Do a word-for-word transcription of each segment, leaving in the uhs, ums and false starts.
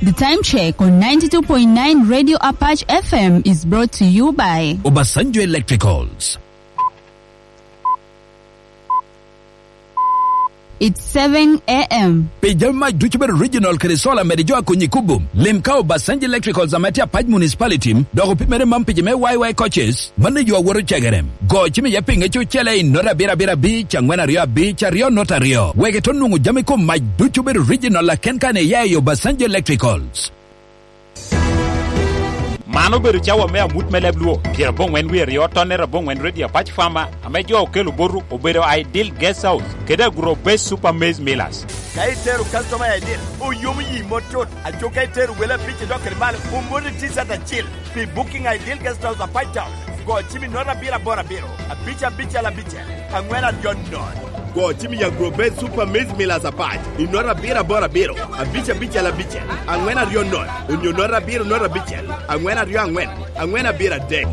The time check on ninety-two point nine Radio Apache F M is brought to you by Obasanjo Electricals. It's seven a m. Pi jami mac ducu bedo regional kede solar mede jo a konyi kubo. Lim ka Obasanjo Electricals ame tye Apac Municipality, dok opimere mam pije me Y Y coaches, mano yo awoto cegere. Go cim iye pinge cucele i nota abiro abiro abic, angwen aryo abic, aryo nota aryo. Wek ito nwoŋo jami kom mac ducu bedo regional aken kan iya i Obasanjo Electricals. Man obedo cawa me amut me leb Luo, pyeraboŋwen wie aryo tonne raboŋwen Redio Apac Fama, ame jo okelo botwu obedo Ideal Guest House kede Agro Best Super Maize Millers. Ka itero customer Ideal, oyomo yi mot tut. Aco ka itero wele abic i dok kede malo, omoti T-shirt acil. Pi booking Ideal Guest House Apac Town, go cim i nota abiro aboro abiro, abic abicel abicel, angwen aryo nono. Go cim i Agro Best Super Maize Millers Apac i nota abiro aboro abiro, abic abicel abicel, angwen aryo nono, onyo nota abiro nota abicel, angwen aryo angwen, angwen abiro adek.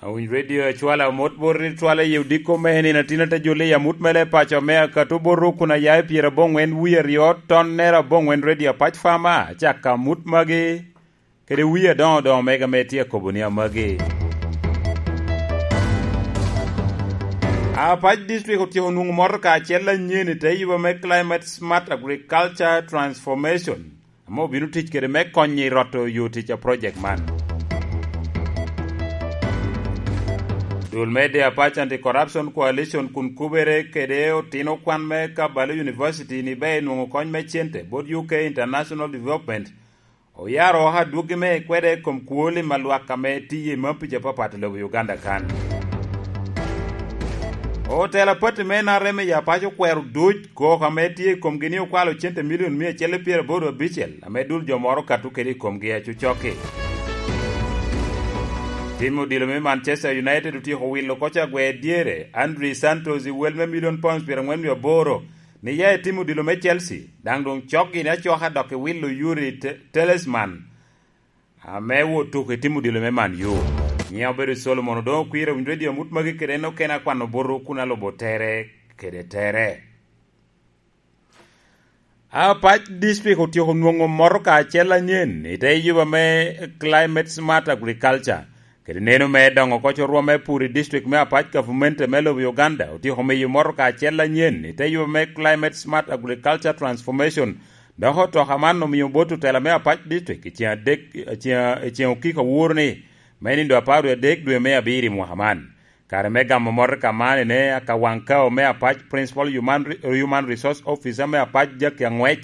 Awiny redio acwala mot bot ri twala i odiko me nino atin ate jule i amut mele paco me akato bot ru kun aya i pyeraboŋwen wie aryo tonne raboŋwen Redio Apac Fama, acaka amut magi kede wie adoŋo doŋo mega me tye akobo ni amagi. Apac District otyeko nwoŋo motoka acel anyen i te yuba me Climate Smart Agriculture Transformation, ame obino tic kede me konyo i roto yo tic a project man. Dul me Deapac Anti-Corruption Coalition kun kubere kede otino kwan me Kabaale University ni be enwoŋo kony me cente bot U K International Development oyaro oko adwogi me kwede i kom kwo lim a lwak ame tiye i mapic apapat i lobo Uganda kan. Otelo a pati me N R M i Apac okwero duc koko ame tye i komgi ni okwalo cente milion mia acel i pyeraboro abicel ame dul jo moro okato kede i komgi acucokki. Tim odilo me Manchester United otyeko wilo koc agwer dyere, Andrey Santos, i wel me milion pounds pyerangwen wie aboro, ni ya i tim odilo me Chelsea, daŋ doŋ cokgi ni acoka dok i wilo Yuri Te-, Talisman, ame wot tuko i tim odilo me Man U. Nyiŋe obedo Solomon Odoŋo Kwir, owinyo redio amut magi kede en okene akwano botwu kun alubo tere kede tere. Apac District otyeko nwoŋo motoka acel anyen i te yuba me Climate Smart Agriculture. Kede neno me doŋo koc orwom me pur i district me Apac, gavumenti me lobo Uganda otyeko miyo motoka acel anyen i te yuba me Climate Smart Agriculture Transformation. Dok otoka man omio bot otela me Apac District i ceŋ adek, i ceŋ, i ceŋ okiko aworo ni, me nindo apar wie adek dwe me abiro i mwaka man. Kare me gamo motoka man ene, Akawaŋ Kao me Apac, Principal Human Re-, Human Resource Officer me Apac, Jackie Aŋwec,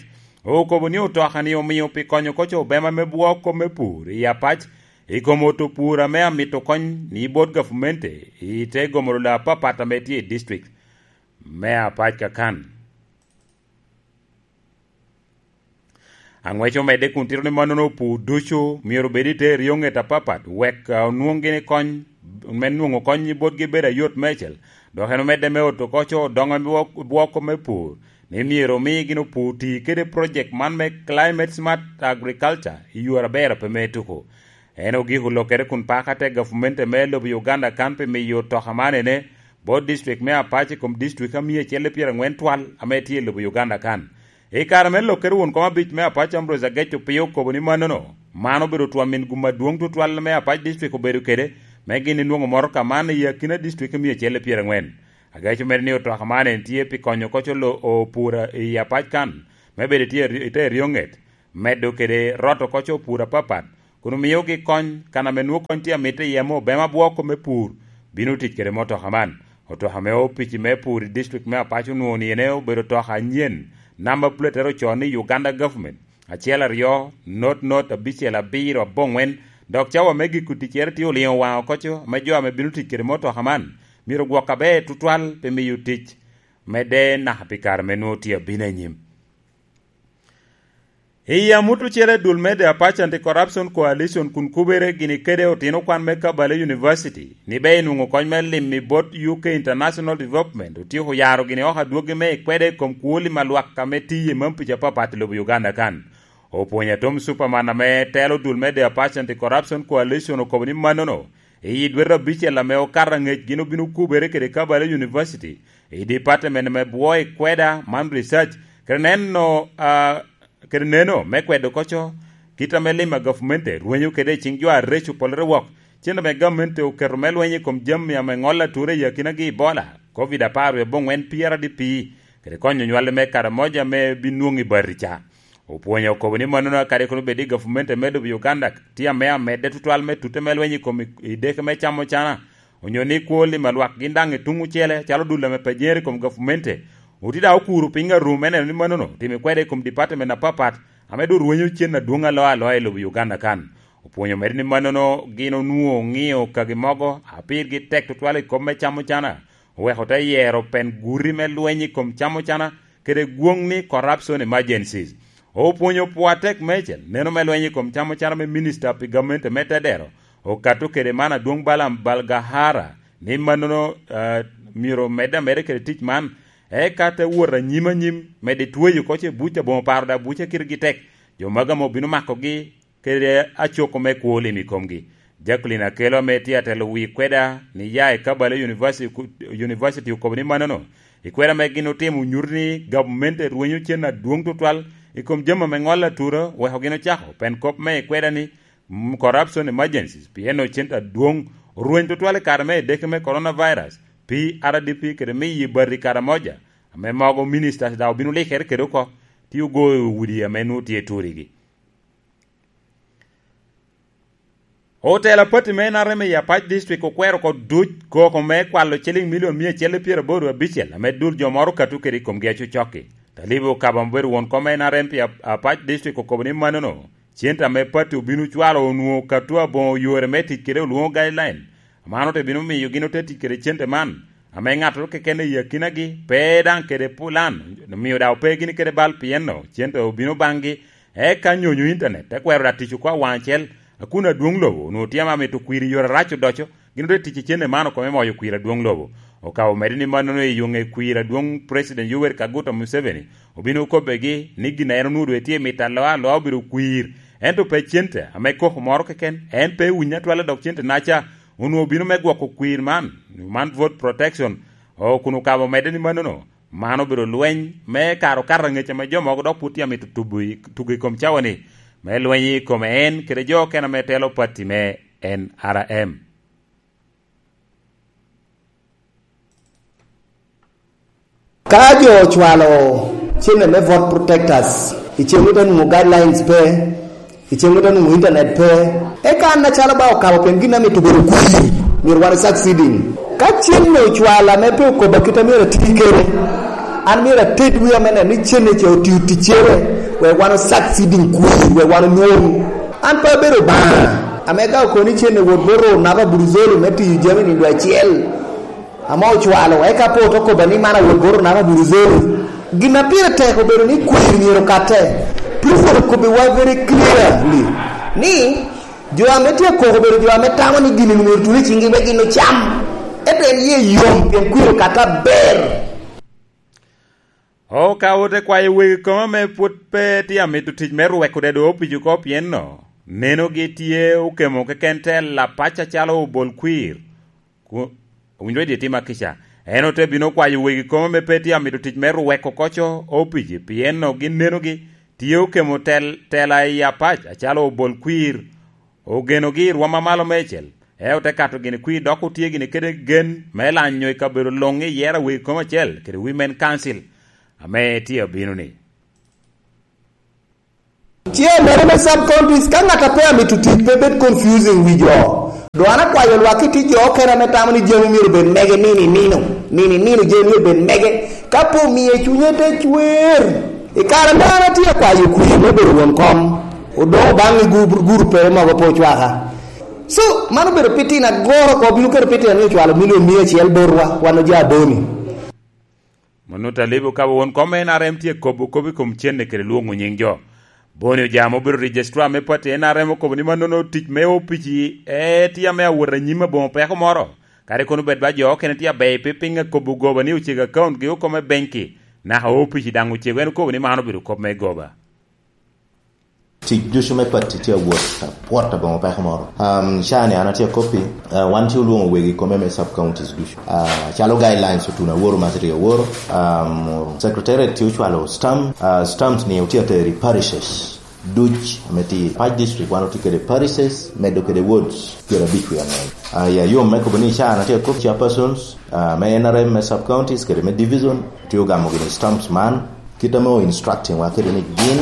okobo ni otoka ni omio pi konyo koc obema me bwoko me pur i Apac, i kom oto pur ame amito kony ni bot gavumenti i te gomoro laa apapat ame tye i district me Apac kakan. Aŋwec omedde kun tito ni mannono opur ducu myero obed i te eryoŋet apapat, wek, ah, onwoŋ gini kony, me nwoŋo kony botgi bedo ayot meicel, dok en omedde me oto koc odoŋo bwok-, bwoko me pur, ni myero omi gin opur ti kede project man me Climate Smart Agriculture i yore aber a pe me tuko. En ogiko lokere kun pako atek gavumenti me lobo Uganda kan pi miyo otoka man ene bot district me Apac i kom district a mia acel i pyerangwen twal ame tye i lobo Uganda kan. I kare me lokere won kom abic me Apac Ambrose Agec Opio okobo ni mannono, man obedo twon min gum adwoŋ tutwal me Apac district obedo kede, me gin inwoŋo motoka man i akina district mia acel i pyerangwen. Agec omedo ni otoka man en tye pi konyo koc olo-, opur i Apac kan, me bedo tye i te eryoŋet, medo kede roto koc opur apapat, kun omiogi kony, kan ame nwoŋo kony tye amitte iye ame obema bwoko me pur, bino tic kede motoka man. Otoka me opici me pur i district me Apac onwoŋo ni ene obedo otoka anyen, namba puletere ocoo ni Uganda Government, acel aryo, not not, abicel abiro, aboŋwen, dok cawa me giko ticcere tye oliŋo waŋ okoco, ame jo ame bino tic kede motoka man, myero ogwok aber tutwal pi miyo tic medde naka pi kare me nwoŋo tye abino anyim. I amut ocele dul me The Apache Anti-Corruption Coalition kun kubere gini kede otino kwan me Kabaale University, ni be enwoŋo kony me lim i bot U K International Development, otyeko yaro gini oko adwogi me ikwede i kom kwo lim a lwak ame tiye i mampic apapat i lobo Uganda kan. Opwony Atom Superman ame telo dul me The Apache Anti-Corruption Coalition okobo ni mannono, I dwete abicel ame okato aŋec gin obino kubere kede Kabaale University i department me bwo i kweda man research, kede neno, ah, kede neno me kwedo koco kit ame lim a gavumenti rwenyo kede i ciŋ jo areco polere wok, cen ame gavumenti oketo me lweny i kom jami ame ŋolo atura i akinagi Ebola, covid apar wie aboŋwen P R D P, kede konyo nywalli me Karamoja ame binwoŋ i bati ca. Opwonyo okobo ni mannono kadi kono bed i gavumenti me lobo Uganda tye ame amedde tutwal me tutte me lweny i kom i, i deke me camo cana, onyo ni kwo limo lwak gin daŋ i tuŋ ocele, calo dul ame pe jere i kom gavumenti. Oti daŋ okuro piny arum me neno ni mannono otimo kwede i kom department apapat, ame doŋ rwenyo cen adwoŋ aloa aloa i lobo Uganda kan. Opwonyo mere ni mannono gin onwoŋo oŋio kagi mogo, a pirgi tek tutwal i kop me camo cana, oweko te yero pen guti me lweny i kom camo cana, kede gwoŋ ni corruption emergencies. Opwonyo pwo atek meicel neno me lweny i kom camo cana me minista pi gamente me Tedero, okato kede man adwoŋ Balaam Balgahara, ni mannono, eh, myero omedde ameda kede tic man, eka te wot anyim anyim, medo tweyo oko ce buc aboŋo paro da buc akitegi tek, jo mago ame obino makogi kede acoko me kwo lim i komgi. Jacqueline Akelo ame tye atelo wi kweda ni ya i Kabaale University, University okobo ni mannono, i kweda ame gin otimo nyuto ni gavumenti rwenyo cen adwoŋ tutwal i kom jami ame ŋolo atura weko gin ocako pen kop me i kweda ni, mm, corruption emergencies, pien ocen adwoŋ orweny tutwal i kare me edeke me coronavirus, P R D P kede miyo bati Karamoja, ame mogo ministers daŋ obino likere kede oko, tye ogoyo udi ame nwoŋo tye turigi. Otelo a pati me N R M i Apac District okwero oko duc koko me kwalo ciliŋ milion mia acel i pyeraboro abicel ame dul jo moro okato kede i komgi acocokki. Talibo Okaba ma obedo won kom me N R M pi Ap-, Apac District okobo ni mannono, cente ame pati obino cwalo onwoŋo okato aboŋo yore me tic kede olwoŋo guideline. Man ote bino miyo gin ote tic kede cente man, ame ŋattoro keken i akinagi pe daŋ kede pulan, omio daŋ ope gini kede bal pien no cente obino baŋgi. Eka nyonyo intanet te kwero da tic oko awaŋ acel, a kun adwoŋ lobo onwoŋo tye ame amito kwir i yore arac odoco, gin ote tic i cente man oko me moyo kwir adwoŋ lobo. Okabo medde ni mannono i yo ŋe kwir adwoŋ President Yoweri Kaguta Museveni obino kobbegi ni gin a en onwoŋo doŋ etye mito aloa aloa obedo kwir, ento pe cente ame koko moro keken, en pe ewinyo atwal dok cente-naca onwoŋo obino me gwoko kwir man, man vote protection, o, kun okabo medde ni mannono, man obedo lweny me kare okato aŋec ame jo mogo dok pwod tye amito tubo i, tugo i kom cawa-ni, me lweny i kome en kede jo okene ame telo pati me N R M. Ka jo ocwalo cene me vote protectors, i cen ote nwoŋo guidelines pe, i cen ote nwoŋo internet pe, eka an acalo ba okabo pien gin amito bedo kwir, myero wan succeeding. Ka cen ocwalo ame pe okobo kit a myero ati kede, an myero ated wia me neno ni cene ca otio ticcere, wek wan succeeding kwir, wek wan onwoŋ. An pe abedo Obaŋa, ame ka okoni cene wot bot Runa pa Buruzoli me tiyo jami nindo acel, ame ocwalo, eka pe ote kobba ni man awot bot Runa pa Buruzoli. Gin a pire tek obedo ni kwir myero okatte. President okobbiwa very clearly ni jo ame tye akoko obedo jo ame tamo ni gin myero tuno i ciŋgi wek gin ocam. Ento en ye yom pien kwir okatte aber. O, ka ote kwayo wegi koma ame pwod pe tye amito tic me rweko dedo opic oko pien no, nenogi tye okemo keken te lapac acalo obol kwir. Ku-, owinjo i dye tim akica. En ote bino kwayo wegi koma ame pe tye amito tic me rweko koco opic, pien no gin nenogi tye okemo tel-, tela i apac acalo obol kwir. Ogenogi i rwom a malo meicel, en ote kato gini kwir dok otye gini kede gen me lanyo i kabedo luŋ i yero awegi kom acel kede Women Council ame tye abino-ni. Chairman me sub counties, ka ŋat a pe amito tic pe bed confusing wi jo. Doŋ an akwayo lwak i tic jo okene ame tamo ni jami myero bed mege nino i nino, nino i nino jami myero bed mege. Ka pe omie cunye te cwer, i kare ame an atye akwayo kwir me bedo won kom, odoŋo baŋ i gur-, gurupe mogo pe ocwaka. So, man obedo pitin agoro oko, obino kede pitin ni ocwalo milion mia acel botwa, wan oja Boni. Mano Talibu ka won kom N R M tye kobo kop i kom cene kede lwoŋo nyiŋ jo. Boni Ojamo obedo registrar me pati N R M okobo ni mannono tic me opici e tye ame awot anyim aboŋo peko moro. Kadi kono bed ba jo okene tye aber pe piny akobo goba ni ocego account gi oko me benki, naka opici daŋ ocego, en okobo ni man obedo kop me goba. Tic ducu me pati tye awot, apwot aboŋo peko moro. Um, ca ni an atye akoppi, uh, wan tye olwoŋo wegi kome me sub counties ducu. Uh, calo guidelines otuno aworo ma tye aworo, um, secretariat tye ocwalo stamp, uh, stamps ni otye atero i parishes duc ame tye i pac district, wan otye kede parishes, medo kede wards pyerabic wie angwen. Uh, ya yom me kobo ni ca an atye akop chairpersons, uh, me N R M me sub counties kede me division, tye ogamo gini stamps man, kit ame o instructing wa kede ni gin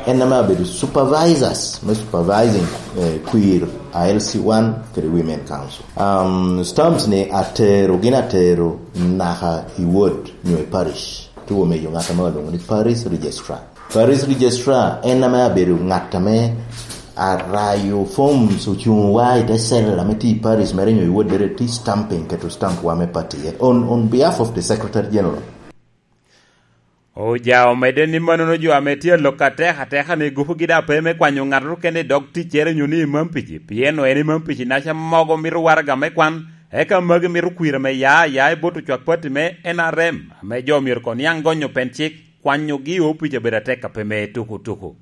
en ame abedo supervisors me supervising, eh, kwir a L C one kede Women Council. Um, stamps ni atero, gin atero naka i ward nyo i parish. Tuo meyo ŋat ame olwoŋo ni parish registrar. Parish registrar en ame abedo ŋat ame arayo forms ocuŋ wa i te cell ame tye i parish mere nyo i ward mere tye stamping, keto stamp wa me party on, on behalf of the secretary general. Oja omedde ni manono jo ame tye alok atek ateka ni gupugi daŋ pe me kwanyo ŋattoro kene i dog ticcere nyo ni i Mampici, pien en i Mampici naca mogo mito waraga me kwan, eka magi mito kwira me ya aya i bot ocwak pati me N R M, ame jo myero koŋ niaŋ gonyo pen cik, kwanyogi i opic abedo atek a pe me tuku tuku.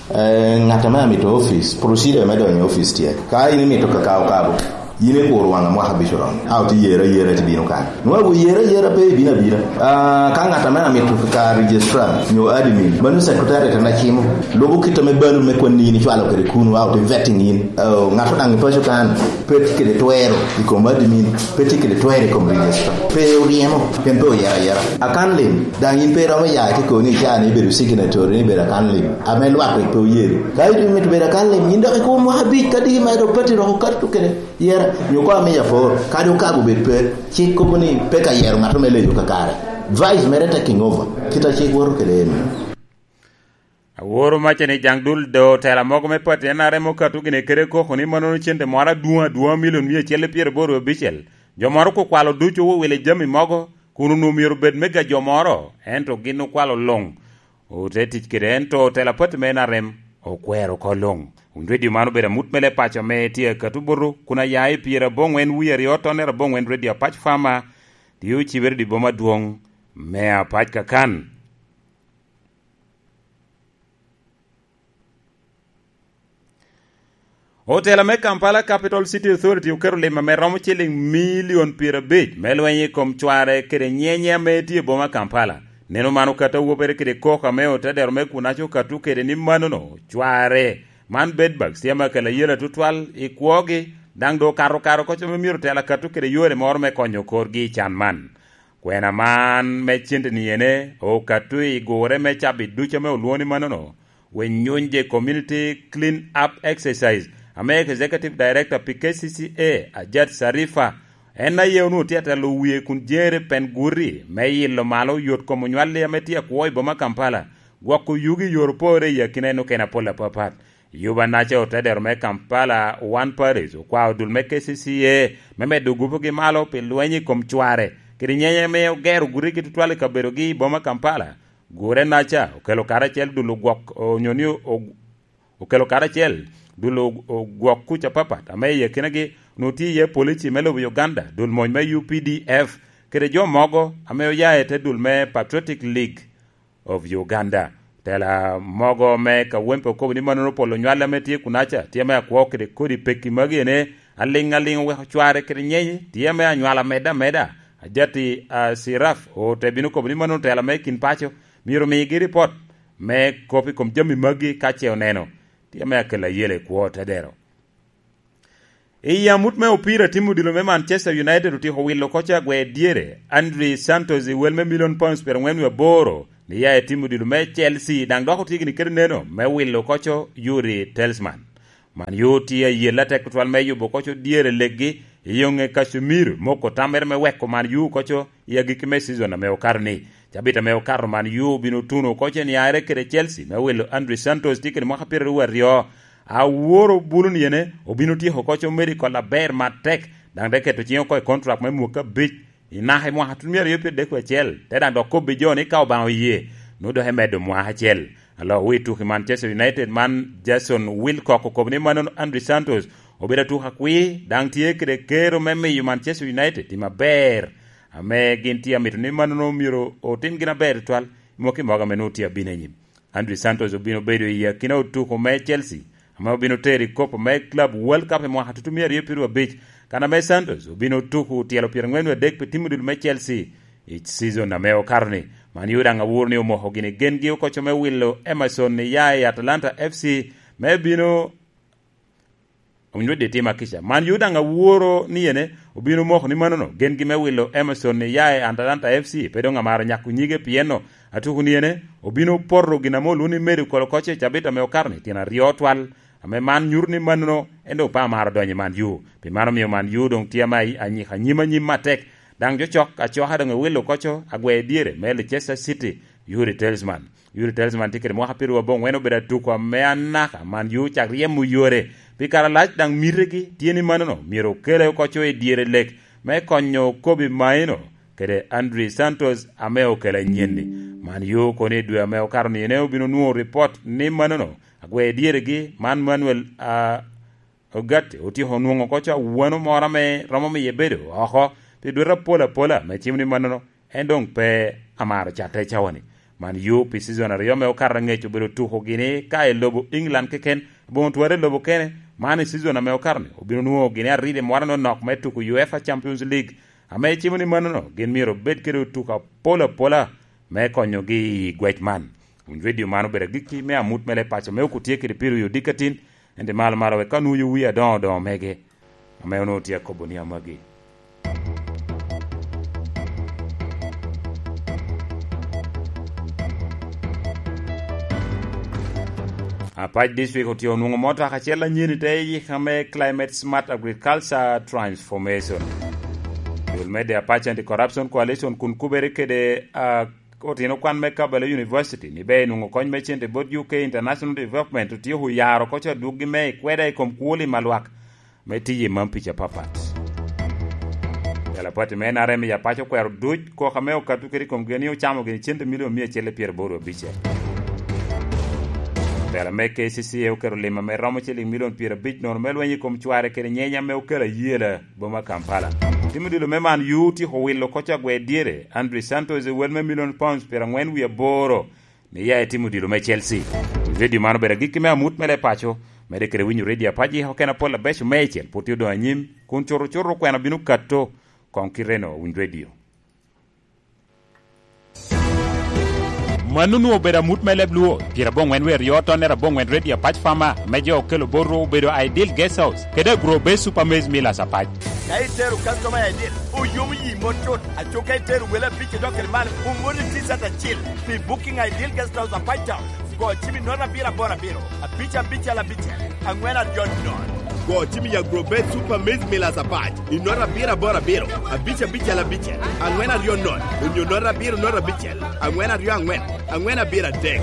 Eh, ŋat ame amito office, procedure me donyo i office tye. Ka in imito kaka okabo, in ikuro waŋ mwaka abic oromo. A otye yere ayera ti bino kan. Nwa wu yere ayera pe ibino abina. Ah, ka ŋat ame amito ka registrar nyo admin, mano secretariat ame cimo. Lubo kit ame balo me kwanni in icwalo kede kunu, a otye vetting in. Oh, ŋat daŋ i paco kan, pe tye kede twero i kom admin, pe tye kede twero i kom registrar. Pe oryemo, pien pe oyero ayera. Akan lim, daŋ in pe iromo ya ki koni ica ni ibedo signatory ni ibedo akan lim. Ame lwak rik pe oyero. Ka in imito bedo akan lim, yin dok ikubo mwaka abic, ka diki mere dok pati dok okato kede yera. Nyo ko amiyo apor, kadi okabo bed pe, cik kobo ni pe ka yero ŋat me leyo kakare. Vice mere taking over, kit a cik woto kede en. Aworo maca ni jaŋ dul do tela mogo me pati N R M okato gine kede koko ni manono cente moro adwoŋ adwoŋ milion mia acel i pyeraboro abicel. Jo moro kukwalo ducu owilo jami mogo, kun onwoŋo myero obed mega jo moro, ento gin okwalo luŋ. Ote tic kede ento tela pati me N R M okwero oko luŋ. Wun redio man obedo amut mele paco ame tye akato buto, kun aya i pyeraboŋwen wie aryo tonnere aboŋwen redio apac fama, tye ocibere di boma adwoŋ me apac kakan. Otela me Kampala Capital City Authority oketo lim ame romo ciliŋ milion pyerabic me lweny i kom cware kede nyenye ame tye i boma Kampala. Neno man okato awobere kede koko ame otedero me kunaco okato kede ni manono cware man bed bak siama kela yela tutwal i kwogi, daŋ doŋ okato kare oko ame myero tela kato kede yore moro me konyo korgi i can man. Kwena man me cente-ni ene okato i gure me cabit ducu ame olwoŋo ni manono, Wenyunje Community Clean Up Exercise, ame Executive Director pi K C C A, Ajat Sarifa, en aye onwoŋo tye atelo wie kun jere pen guti me yilo malo yot kom onywalli ame tye akwo i boma Kampala, gwoko yugi i yor opore i akina en okene apol apapat. Yuba naca otedero me Kampala One Parish okwao dul me K C C A me medo gupugi malo pi lweny i kom cware kede nyenye ame ogero gurigi tutwal i kabedogi i boma Kampala. Gure naca okelo karacel dul ogwok, onyo ni o-, okelo karacel dul og-, ogwok kuc apapat ame i akinagi onwoŋo tye iye polici me lobo Uganda, dul mony me U P D F, kede jo mogo ame oya i te dul me Patriotic League of Uganda. Tela mogo me Kawempe okobo ni manono polo nywal ame tye kunaca tye ame akwo kede kodi peki magi ene aliŋ aliŋ oweko cware kede nyenye tye ame anywala medde ameda. Ajati, ah, Siraf ote bino kobo ni manono tela me kin paco myero migi ripot me kop i kom jami magi ka ce oneno. Tye ame akelo ayela i kwo te dero. I amut me opira, tim odilo me Manchester United otyeko wilo oko agwer dyere Andrey Santos i wel me milion pounds pyerangwen wie aboro ni ya i tim odilo me Chelsea, daŋ dok otye gini kede neno me wilo oko Yuri Telsman. Man U tye ayel atek tutwal me yubo oko dyere leggi i yoŋe Casemiro moko tammere me weko Man U oko i agikki me cizon ame okato-ni. Cabit ame okato, Man U obino tuno oko niaere kede Chelsea me wilo Andrey Santos tye kede mwaka pyeraryo aryo. Aworo bulu ni ene obino tyeko oko medical aber matek, daŋ te keto ciŋe oko i kontrak me mwaka abic i naka i mwaka tutumia aryo pyeraryo acel, te daŋ dok kobbi jo ni ka Obaŋa oye, nwoŋo dok emedo mwaka acel. Aloo wi tuki Manchester United man, Jason Wilcock okobo ni mano Andrey Santos obedo atuk akwi, daŋ tye kede kero me miyo Manchester United tim aber, ame gin tye amito ni mano myero otim gin aber tutwal i mwaki mogo ame nwoŋo tye abino i nyim. Andrew Santos obino bedo i akina otuko me Chelsea, ame obino tero i Kop me Club World Cup i mwaka tutumia aryo pyeraryo abic, kan ame Santos obino tuko tyelo pyerangwen wie adek pi tim odilo me Chelsea i season ame okato-ni. Man yo daŋ awuro ni omoko gini gengi okoco me wilo Emerson ni ya i Atalanta F C me bino Owinyo dye tim akica. Man yo daŋ aworo ni ene obino moko ni manono, gengi me wilo Emerson ni ya i Atalanta F C pe doŋ amaro nyako nyige, pien no atuko ni ene obino poto gin ame olwoŋo ni medo kolo koc i cabit ame okato-ni tyen aryo twal, ame man nyuto ni manono en doŋ pe amaro donyo i man yo. Pi mano omio man yo doŋ tye ame ayi-, anyika anyim anyim atek. Daŋ jo cok acoka doŋ ewilo koco agwe dyere me Leicester City, Yuri Telsman. Yuri Telsman tye kede mwaka pyeraryo aboŋwen, obedo atuko ame anaka man yo cak ryemo yore. Pi kare alac daŋ mitegi tye ni manono myero okele oko co i dyere lek me konyo Kobe Maino kede Andrew Santos ame okele anyen-ni. Man yo kono i dwe ame okato ni ene obino nwoŋo ripot ni manono agwe dyeregi man Manuel, a, Ogatti otyeko onwoŋo oko co awano moro ame romo miye bedo oko pi dwete apol apola, me cimo ni mannono en doŋ pe amaro catte i cawa-ni. Man yo pi cizon aryo ame okato aŋec obedo tuko gini ka i lobo England keken, aboŋo twara i lobo kene. Man i cizon ame okato-ni obino nwoŋo gini aridi moro anonok me tuko UEFA Champions League, ame cimo ni mannono gin myero obed kede otuko apol apola me konyogi i gwec man. Winy redio man obedo agikki me amut me leb paco me oko tye kede Piru i odikatin, ento malo malo wek ka onwoyo wii adoŋo doŋo mege, ame onwoŋo tye akobo ni amagi. Apac District otye onwoŋo motoka acel anyen i te yika me Climate Smart Agriculture Transformation. Dul medde Apac Anti-Corruption Coalition kun kubere kede, ah, otino kwan me Kabaale University ni be enwoŋo kony me cente bot U K International Development otyeko oyaro oko co adwoggi me ikweda i kom kwo lim a lwak me tiyo i mam pica apapat. Jal apati me N R M i Apac okwero duc koko ame okato kede i komgi ni ocamo gini cente milion mia acel i pyeraboro abic. Tela me K C C A oketo lim ame romo ciliŋ milion pyerabic nono me lweny i kom cware kede nyenye ame okelo ayela boma Kampala. Tim odilo me man yu otyeko wilo oko co agwe dyere, Andrew Santos i wel me million pounds pyerangwen wie aboro, ni ya etimo odilo me Chelsea. Redio man obedo agikki me amut me leb paco, medde kede winyo redio Apac i okene apol abeco meicel, pwod tye odoŋ anyim, kun cuto cuto okwena bino kato koŋ kite-no. Winy redio. Mano onwoŋo obedo amut me leb Luo, pyerabongwen wie aryo tonnere abongwen redio Apac Farmer, me jo okelo bot ru obedo Ideal Guest House, kede Agro Base Super Maize Millers Apac. Ka itero customer I D, oyomo yi mot cut, aco ka itero wele abic idok kede malo, oŋo ni T-shirt acil pi Booking Ideal Guest House Apac Town. Go cim i note abiro aboro abiro, abic abicel abicel, aŋwen aryo nono. Go cim i Agrobet Super Maize Millers Apac i note abiro aboro abiro, abic abicel abicel, aŋwen aryo nono, onyo note abiro note abicel, aŋwen aryo aŋwen, aŋwen abiro adek.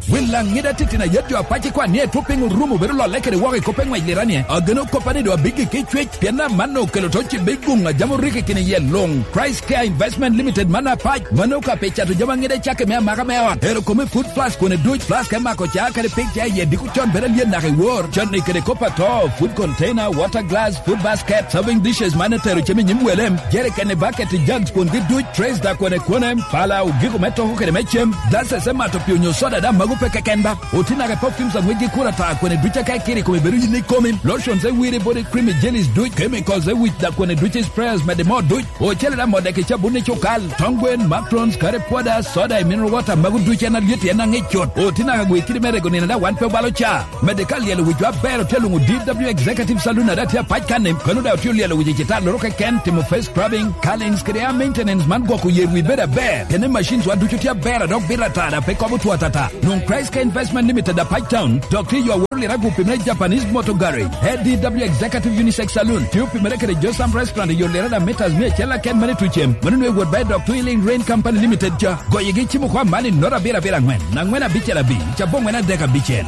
Wil aŋida titino a yet jo Apac ikwan ni etwo piny orumo bedo lolle kede woko i kop eŋwec lirani. Ageno koppa ni doŋ abiggi ki cwec, pien amanno okelo to cibe i guŋ a jami orikki kine iye luŋ. Christ Care Investment Limited man Apac, mano ka pe cato jami aŋida cakke me amaka me ot. Ero kome food flask kone duc, flask me mako ca kede pig ca iye diko con bedo alyen naka i wor. Canni kede kop ato, food container, water glass, food basket, serving dishes man etero cem i nyim welem, jerikeni, baketi, jugs kungi duc, trays da kone kone, pala, ogiko me toko kede me cem, glasses me mato pi onyo soda da mago pe keken ba. Oti naka perfumes aŋwec gi kura ta kone duc aka ikiri kome bedo yin ikomi, lotions e wiri body creamy jellies duc, chemicals e wic da kone duc sprayers mede mo duc. Ocele da modde ki cabun i cukal, tong gwen, macarons, curry powder, soda, i mineral water, mago duc en alyet en aŋic cut. Oti naka gwe kidi me rego nino da wan pe obalo ca. Medde ka lyelo wicwa aber otye luŋo D W Executive Saloon ada tye apac kanni, kano da otye olyelo wic i citar loro keken, timo face scrubbing, curlings kede hair maintenance man gwoko yer wi bedo aber. Kene machines wa ducu tye aber a dok bit atada pe kobo two atata. Nwoŋ Christ Care Investment Limited Apac Town, dok tye yo aworo liragu pi me Japanese Motor Garage. A D W Executive Unisex Saloon tye opimere kede Josam Restaurant i yo lirada meters mia acel aken mane tucem. Mano nwe wot ba i dok Twilling Rain Company Limited ca. Goyigi cimo kwa mani nota abiro abiro angwen, angwen abicel abic, cabo angwen adek abicel.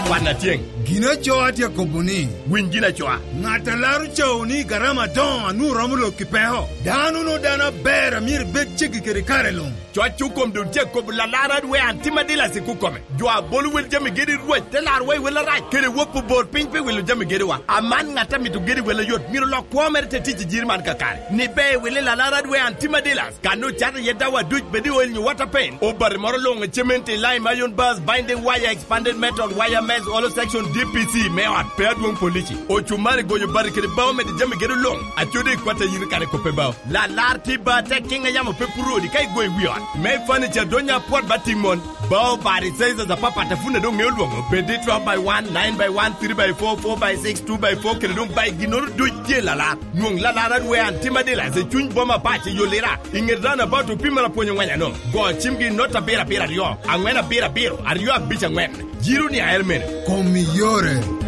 Kwan atyeŋ. Gin aco atye akobo ni, winy gin acoa. Ŋat a laro cawo ni garama adoŋo a nwoŋo romo lok i peko. Dano no dano aber a myero ibed ceggi kede kare luŋ. Cwaccu kom doŋ tye akobo lalar adwe an tim adila sik okome. Jo a bolo wel jami gedi Rwec te laro wa i wel arac, kede wok obor piny pe wilo jami gediwa. Aman ŋat a mito gedi wel ayot, myero lok kwo mere te tic i jiri man kakare. Ni be wili lalar adwe an tim adila. Kan ocato iye dawa duc, bed i oil nyo water paint, obati moro luŋ, cement, lime, iron bars, binding wire, expanded metal, wire mesh, hollow section, D P C me ot, pe adwoŋ polici. Ocumari goyo bati kede bao medo jami gedo luŋ. Acodi i kwat a yito kare koppe bao. Lalar tye ba tek kiŋ a yamo pe puro odi ka igoyo i wi ot. Me furniture donya apwot ba tiŋ mon. Bao bati sizes apapat a pun a doŋ ŋeo lwoŋo. Bed i twelve by one, nine by one, three by four, four by six, two by four, kede doŋ by ginnoro duc tye lalar. Nwoŋ lalar adwe an tim adila i cuny boma apac i Yolira. I ŋet roundabout opimere apwony ongweny ano. Go cimgi i not abiro abiro aryo, aŋwen abiro abiro, aryo abic aŋwen. Jiro ni aer mene. Kom iyore.